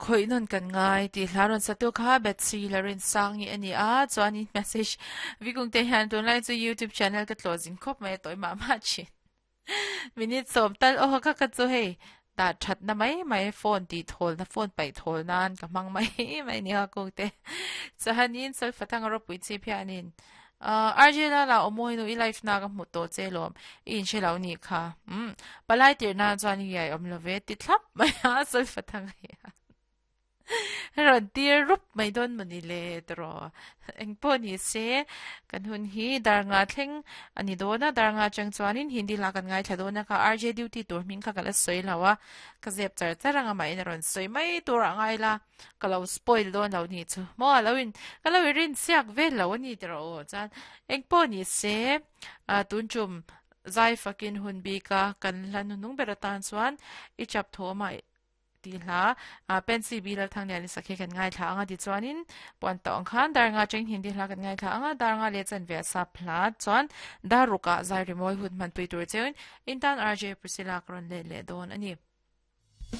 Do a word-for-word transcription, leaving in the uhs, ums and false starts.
Khawih nawn kan ngai tih hla rawn satu kha Betsy Larinsangi a ni a, chuanin message Vikung te hian tunlai chu YouTube channel ka tlawh zin khawp mai a tawi mah mah thin. Minute sawm tal aw kha kha chu hei dah thatna mai mai phone tih thawl na phone paih thawl nan ka hmang mai mai nia kung te. Chuanin Solfathang a ropui chip hianin R J Lala aw mawi nu i live na ka hmu tawh che lawm i inhre lo nih kha. Umm palai tirh nan chuan i iai awm lo ve ti thlap mai a Solfathang hian. Rawn tir rup mai dawn maw ni le tawh eng pawh ni se kan hun hi dar nga thleng a ni dawn a dar nga atang chuanin Hindi hla kan ngaithla dawn a kha R J duty tur hming kha ka la sawi lo a ka zep char char anga mah in a rawn sawi mai tur ah ngai la ka lo spoil dawn lo ni chu maw a lo in ka lo in rin siak vel lo a ni tawh aw chuan eng pawh ni se ah tun tum zai fakin hun bik a kan hla nunung ber atan chuan i chap thawm ah Tih hla Pensy Bi Lalthangliani sakhi kan ngaithla ang a tichuanin puan tawh ang khan dar nga cheng Hindi hla kan ngaithla ang a, dar nga leh chanve a sap hla chuan dar rukah zai rimawi hun hmanpui tur cheuin intan R J Priscilla ka rawn let leh dawn a ni.